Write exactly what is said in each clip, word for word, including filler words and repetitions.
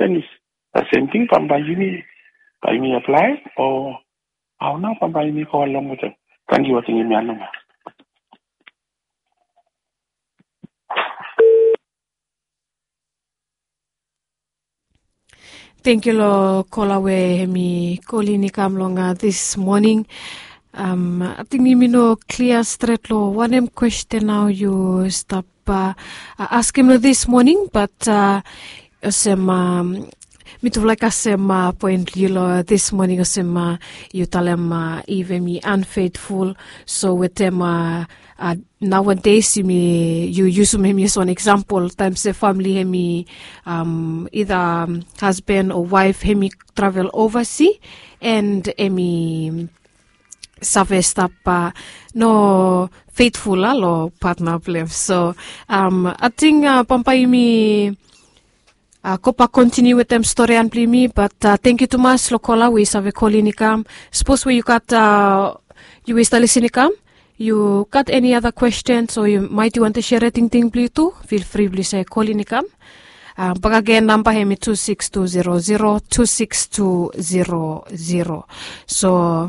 Penis. Sem ting bambae yumi, bae yumi aplae o? Hao nao bambae yumi go along wetem? Tangkiu, ating yumi aning ya. Tangkiu long kola we hem i kolin i kam long dis moning. Ating yumi no klia stret long wanem kwesten nao yu stap askem long dis moning, bat olsem mitufala i kasem poen blong yu long dis moning, olsem yu talem if hem i unfaithful, so wetem nowadays yumi, yu yusum hem i as wan eksampol, taem se famili hem i, ida hasban o waef hem i travel ovasi, and hem i save stap no feitful long patna blong hem. So ating bambae yumi gobak kontiniu wetem storian blong yumi, bat tangkiu tumas long kola we i save kolin i kam. Sapos we yu gat, yu we i stap lisin i kam, yu gat eni ada kwesten o yu maet yu wantem serim tingting blong yu tu, fil fri blong yu save kolin i kam. Bakegen namba hem i tu sikis tu zero zero tu sikis tu zero zero. So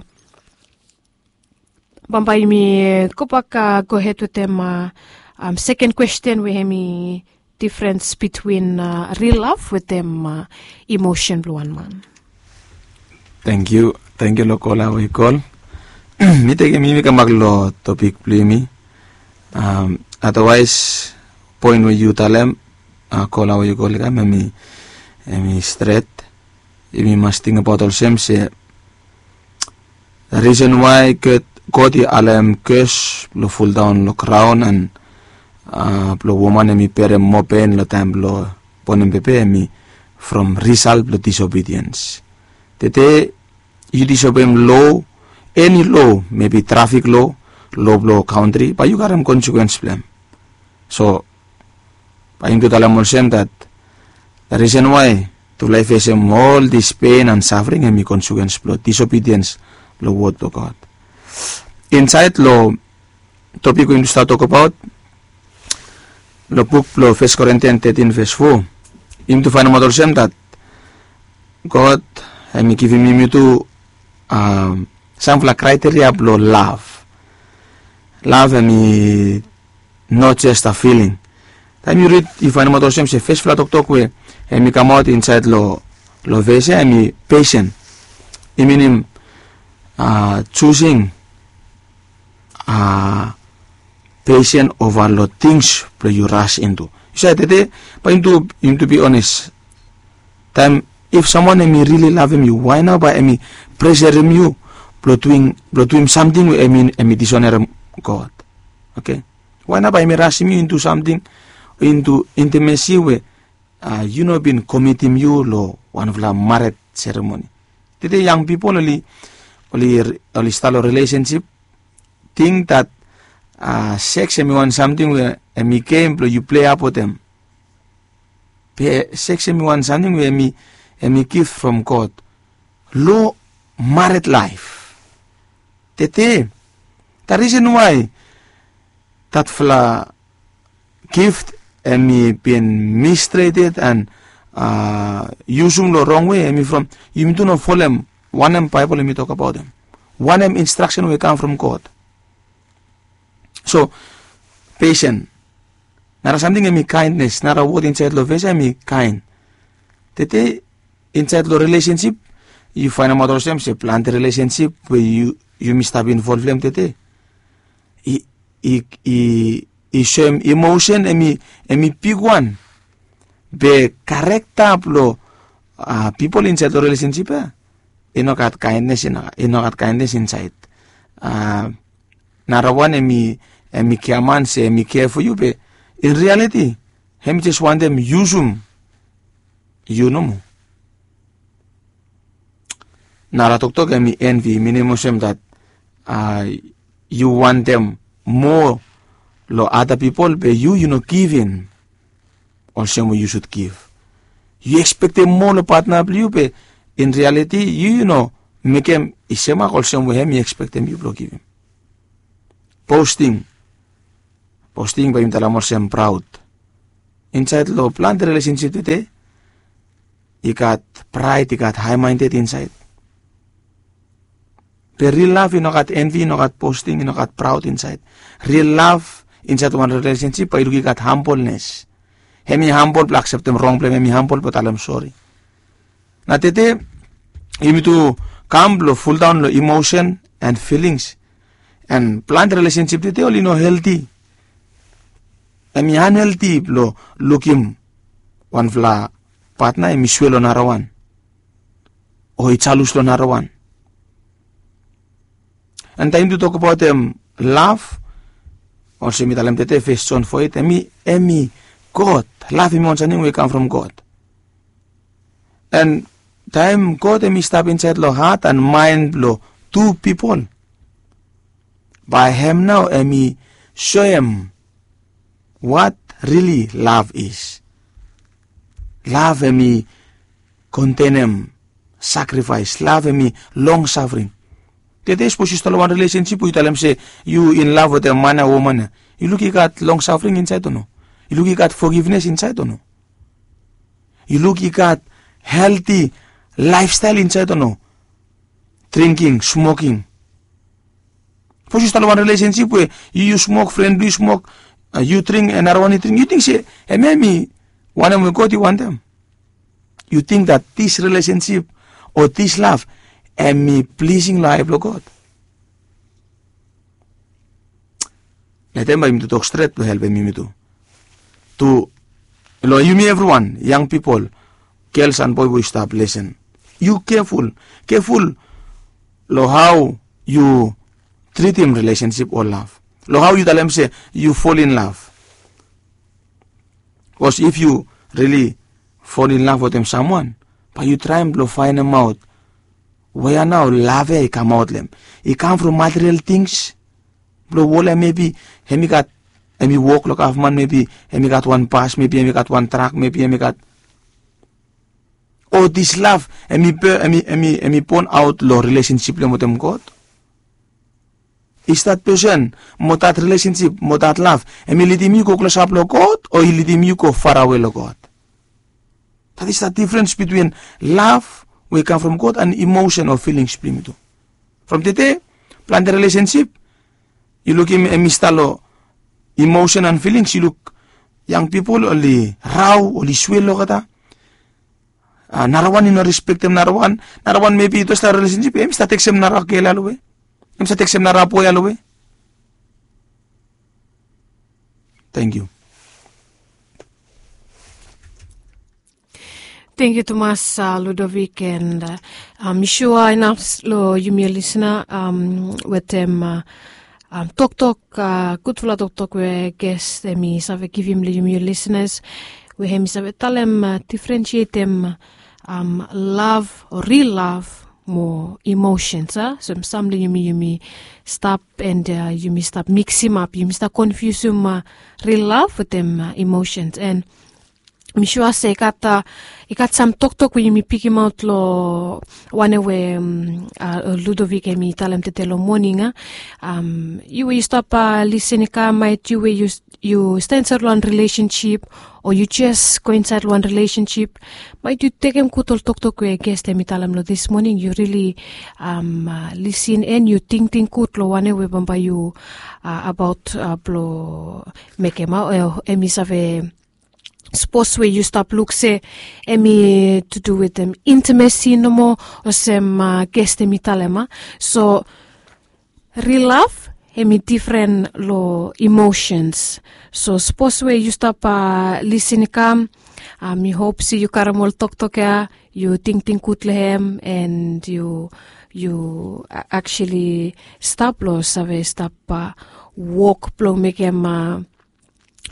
bambae yumi gobak gohed wetem seken kwesten we hem i difrens bitwin ril lav wetem imosen blong wan man. Tangkiu, tangkiu long kola we i kol. Mi tekem yumi kambak long topik blong yumi. Adawaes, poen we yu talem, kola we yu kol i kam, hem i stret. Yumi mas tingbaot olsem se risen wae God i alem kos blong fuldaon long graon, an blong woman hem i berem moa pen long taem blong bonem bebi hem i from risal blong disobediens. Tede yu disobem lo, eni lo, mebi trafik lo, lo blong kantri, bae yu karem konsekwens blong hem. So bae yumi tu talem olsem dat risen wae tufala i fesem ol dis pen an safring hem i konsekwens blong disobediens long wod blong God. Insaed long topik we yumi tu stap tokbaot long buk blong Fes Korintian tetin ves fo, yumi tu faenemaot olsem dat God hem i givim yumi tu samfala kraeteria blong lav. Lav hem i not just a feeling. Taem yu rid yu faenemaot olsem se fesfala toktok we hem i kamaot insaed long ves ya hem i pesen. I minim jusing pesen ova long tings blong yu ras intu. Yu save tede, bae yumi tu bi ones, taem if samwan hem i rili lavem yu, wae nao bae hem i preserem yu blong duim samting we hem i disonerem God? Oke. Wae nao bae hem i rasim yu intu samting, intu intimesi we yu no bin komitim yu long wanfala mared seremoni? Tede yang pipol oli, oli stap long rilesensip, ting dat seks hem i wan samting we hem i gem blong yu plei ap wetem. Be seks hem i wan samting we hem i gif from God long mared laef. Tede, dat risen wae datfala gift hem i bin mistreted an yusum long rong wei, hem i from yumi tu no folem wanem Baebol hem i tokbaot hem, wanem instraksen we i kam from God. So pesen, nara samting hem i kaendnes, nara wod insaed long ves ya hem i kaen. Tede insaed long rilesensip yu faenemaot olsem se plante rilesensip we yumi stap involv long hem tede i, i, i, i soem imosen hem i, hem i bigwan. Be karekta blong pipol insaed long rilesensip ya i no gat kaendnes, i no gat kaendnes insaed. Narawan hem i, hem i giaman se hem i kea fo yu, be in rialiti hem i jes wantem yusum yu nomo. Nara toktok hem i envi, minim olsem dat yu wantem moa long ada pipol be yu, yu no givim olsem we yu sud givim. Yu ekspektem moa long patna blong yu be in rialiti yu, yu no mekem i semak olsem we hem i ekspektem yu blong givim. Posting, posting bae yumi talem olsem praod. Insaed long plante rilesensip tede i gat praed, i gat haemaended insaed. Be ril lav i no gat envi, i no gat bosting, i no gat praod insaed. Ril lav insaed long wan rilesensip bae yu luk i gat hambolnes. Hem i hambol blong akseptem rong blong hem, hem i hambol blong talem sori. Na tede yumi tu kam blong fuldaon long emosen and filings. And plante rilesensip tede oli no helti. Hem i anhelti blong lukim wanfala patna hem i swea long narawan o i jalus long narawan. And taem yumi tu tokbaotem lav, olsem mi talem tede fes John four eight, hem i, hem i God. Lav hem i wan samting we i kam from God. And taem God hem i stap insaed long hat and maen blong tu pipol, bae hem nao hem i soem what really love is. Lav hem i kontenem sakrifaes, lav hem i longsafring. Tede sapos yu stap long wan rilesensip we yu talem se yu in lav wetem man ya, woman ya, yu luk i gat longsafring insaed o no? Yu luk i gat fogivnes insaed o no? Yu luk i gat helti laefstael insaed o no? Dringking, smoking. Sapos yu stap long wan rilesensip we yu, yu smok, fren blong yu smok, yu dring, and narawan i dring, yu ting se hemia hem i wanem we God i wantem? Yu ting that this relationship o this love hem i plising long ae blong God? Letem bae yumi tu tok stret blong helpem yumi tu. Tu long yumi evriwan, yang pipol, gels and boe we yu stap lesen, yu keful, keful long hao yu tritim rilesensip o lav, long hao yu talem se yu fol in lav. Bikos if yu rili fol in lav wetem samwan, bae yu traem blong faenemaot wea nao lav ya i kamaot long hem. I kam from material tings blong wol ya, mebi hem i gat, hem i wok long gavman, mebi hem i gat wan bas, mebi hem i gat wan trak, mebi hem i gat, o this love hem i, hem i, hem i, hem i bon aot long rilesensip blong hem wetem God? Is that person mo that relationship mo that love hem i lidim yu go klosap long God o i lidim yu go farawe long God? That is the difference between love we i kam from God and emotion o feelings blong yumi tu. From tede plante relationship yu lukim hem i stap long emotion and feelings. Yu luk yang pipol oli rao, oli swel olgeta. Narawan i no respektem narawan. Narawan mebi i stap long relationship, hem i stap tekstem nara gel ya long we, hem i stap tekstem nara boe ya long we. Tangkiu. Tangkiu tumas Ludovic, and mi sua inaf long yumi lisna wetem toktok, gudfala toktok we ges hem i save givim long yumi lisnas, we hem i save talem, difrensietem lav o ril lav mo emosens, a? So hem sam long yumi, yumi stap, and yumi stap miksimap, yumi stap konfiusim ril lav wetem emosens. And mi sua se i gat, i gat sam toktok we yumi pikimaot long wanem we Ludovic hem i talem tede long moning, a? Yu we yu stap lisin i kam, maet yu we yu, yu stap insaed long wan relationship o yu jes go insaed long wan relationship, maet yu tekem gud ol toktok we ges hem i talem long this morning, yu rili lisin and yu tingting gud long wanem we bambae yu abaot blong mekem, a? Hem i save, sapos we yu stap luk se hem i to do wetem intimacy nomo, olsem ges hem i talem, a? So ril lav hem i difren long emosens. So sapos we yu stap lisin i kam, mi hop se yu karem ol toktok ya, yu tingting gud long hem, and yu, yu actually stap long save stap wok blong mekem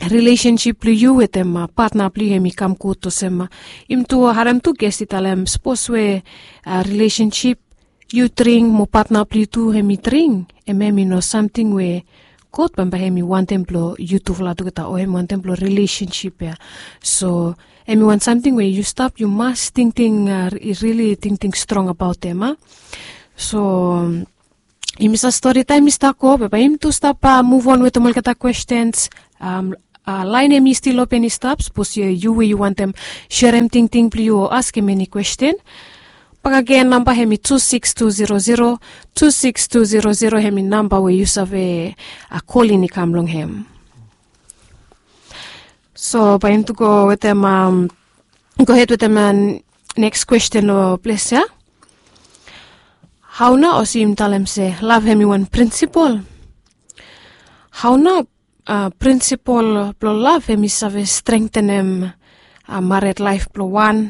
relationship blong yu wetem patna blong yu hem i kam gud, olsem yumi tu harem tu ges i talem, sapos we relationship yu dring mo patna blong yu tu hem i dring, hem, hem i no samting we God bambae hem i wantem blong yutufala tugeta, o hem i wantem blong relationship ya. So hem i wan samting we yu stap, yu mas tingting, rili tingting strong abaot hem, a? So yumi save stori, taem i stap go, be bae yumi tu stap muvon wetem olgeta kwestens Lain hem i stil open i stap sapos yu we yu wantem serem tingting blong yu o askem eni kwesten. Bakagen namba hem i tu siks tu zero zero, tu siks tu zero zero hem i namba we yu save kolin i kam long hem. So bae yumi tu go wetem, gohed wetem neks kwesten o ples ya. Hao nao olsem yumi talem se lav hem i wan prinsipol? Hao nao prinsipol blong lav hem i save strengtenem mared laef blong wan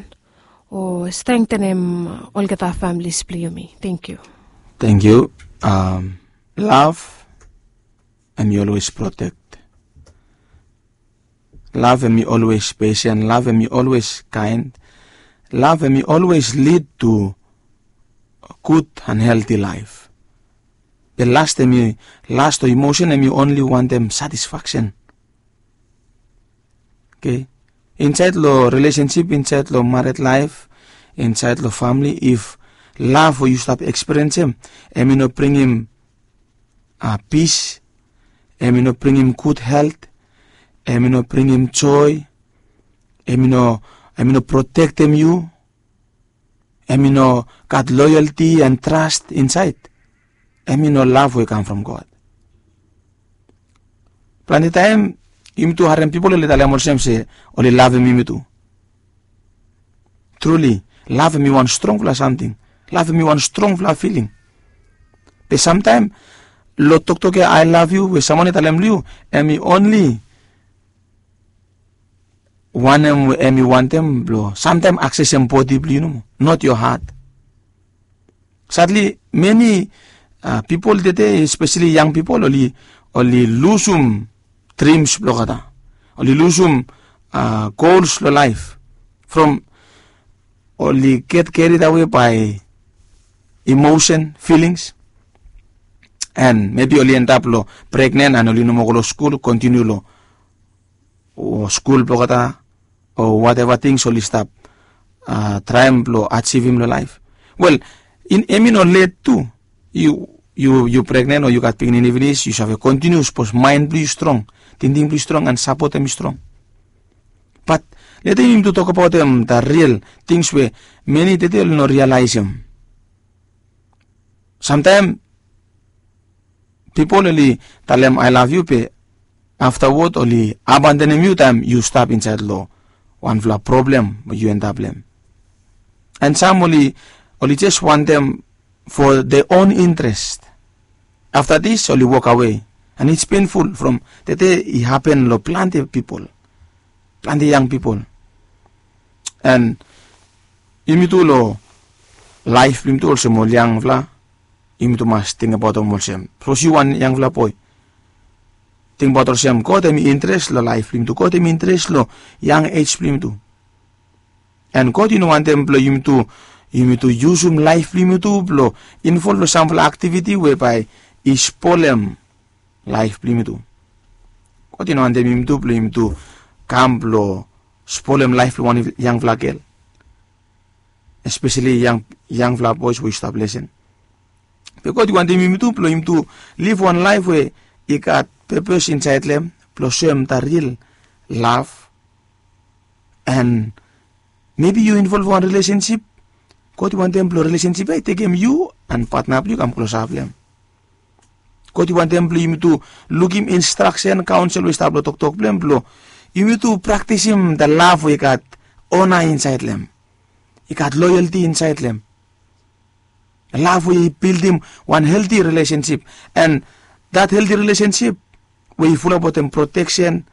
o strengtenem olgeta familis blong yumi? Tengkiu. Tengkiu. Lav hem i olwes protek. Lav hem i olwes pesen. Lav hem i olwes kaen. Lav hem i olwes lid tu gud an helti laef. Be last hem i last o imosen hem i onli wantem satisfaksen. Oke. Insaed long relesensip, insaed long mared laef, insaed long famili, if lav we yu stap eksperensem hem i no bringim pis, hem i no bringim gud helt, hem i no bringim joe, hem i no protektem yu, hem i no gat loyalti an tras insaed, hem i no lav we i kam from God. Plante taem yumi tu harem pipol oli talem olsem se oli lavem yumi tu. Truli, lav hem i wan strongfala samting. Lav hem i wan strongfala filing. Be samtaem long toktok ya, "I love you" we samwan i talem long yu, hem i onli wanem we hem i wantem blong samtaem aksesem bodi blong yu nomo, not yo hat. Sadli meni pipol tede, espeseli yang pipol, oli lusum drims blong olgeta. Oli lusum gols long laef from oli get carried away by emotion, feelings, and maybe oli endap long pregnen and oli no moa go long skul, kontiniu long skul blong olgeta o wateva tings oli stap traem blong ajivim long laef. Wel, hem i no let tu. Yu pregnen o yu gat pikinini finis, yu save kontiniu sapos maen blong yu strong, tingting blong yu strong and sapot hem i strong. Bat leta yumi tu tokbaotem da ril tings we meni tede oli no rialaesem. Samtaem pipol oli talem "I love you" be aftawod oli abandonem yu taem yu stap insaed long wanfala problem we yu endap long hem. And sam oli jes wantem for their own interest. Afta dis oli wokawe. And it's painful from tede i hapen long plante pipol, plante yang pipol. And yumi tu long laef blong yumi tu olsem ol yangfala, yumi tu mas tingbaotem olsem, sapos yu wan yangfala boe, tingbaot olsem God hem i interes long laef blong yumi tu. God hem i interes long yang ej blong yumi tu. And God i no wantem blong yumi tu, yumi tu yusum laef blong yumi tu blong involv long samfala aktiviti we bae i spolem laef blong yumi tu. God i no wantem yumi tu blong yumi tu kam blong spolem laef blong wan yangfala gel, espeseli yangfala boes we yu stap lesen. Be God i wantem yumi tu blong yumi tu liv wan laef we i gat pepes insaed long hem blong soem da ril lav. And mebi yu involv wan rilesensip, God i wantem blong rilesensip ya i tekem yu and patna blong yu kam klosap long hem. God i wantem blong yumi tu lukim instraksen, kaonsel we i stap long toktok blong hem blong yumi tu praktisim da lav we i gat ona insaed long hem, i gat loyalti insaed long hem. Lav we i bildim wan helti rilesensip. And dat helti rilesensip we i fulap wetem proteksen,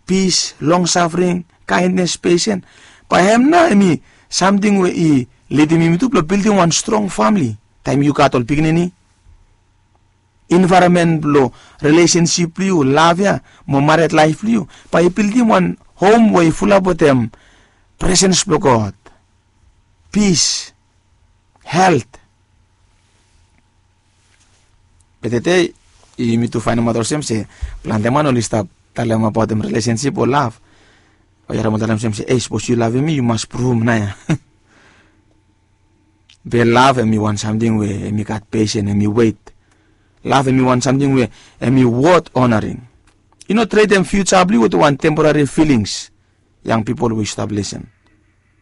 pis, longsafring, kaendnes, pesen, bae hem nao hem i samting we i lidim yumi tu blong bildim wan strong famili. Taem yu gat ol pikinini, envaeronmen blong rilesensip blong yu, lav ya mo mared laef blong yu, bae i bildim wan hom we i fulap wetem presens blong God, pis, helt. Be tede yumi tu faenemaot olsem se plante man oli stap talemabaotem rilesensip o lav. O yet hem oli talem olsem se, "Ei, sapos yu lavem mi yu mas pruvum nao ya." Be lav hem i wan samting we hem i gat pesen, hem i wet. Lav hem i wan samting we hem i wot onaring. Yu no tredem fiuja blong yu wetem wan temporari filings. Yang pipol we yu stap lisen,